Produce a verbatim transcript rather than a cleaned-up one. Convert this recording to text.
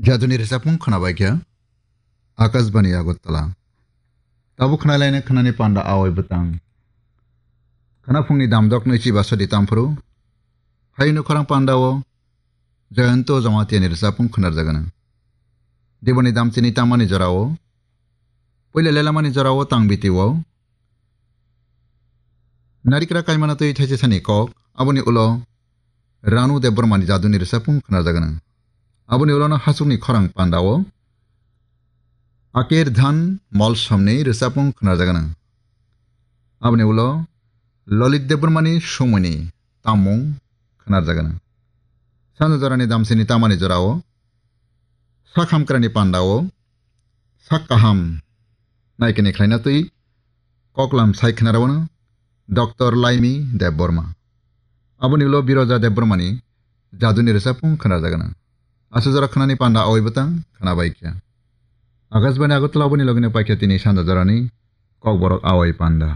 Jaduni rwchapmung khwnabaikha Akashbani Agartala. Tabuk khwnalaina khwnani panda awai bwtang. Khwnaphungni damdoknwi chiba sadi tamphuru. Haino khorang pandao Jayanto Jamatiani rwchapmung khwnarjagana. Diboni damchini tamani jorao, puila lelamani jorao tangbitio, narikra kaimana twi thaisisani kok, aboni ulo Ranu Debbarmani jaduni rwchapmung khwnarjagana. Aboni ulono hachukni khorang pandao Akir Dhan Molsomni rwchapmung khwnarjagana. Aboni ulo Lalit Debbarmani sumuni tammung khwnarjagana. Sanja jorani damsini tamani jorao, sak hamkrani pandao, sak kaham naikini khlaina twi koklam sai khwnarogana Doctor Laimi Debbarma. Aboni ulo Biroja Debbarmani jaduni rwchapmung khwnarjagana. Aswk jora khwnani panda awai bwtang khwnabaikha. Akashbani Agartala oboni logino paikha tini sanja jorani kokborok awai panda.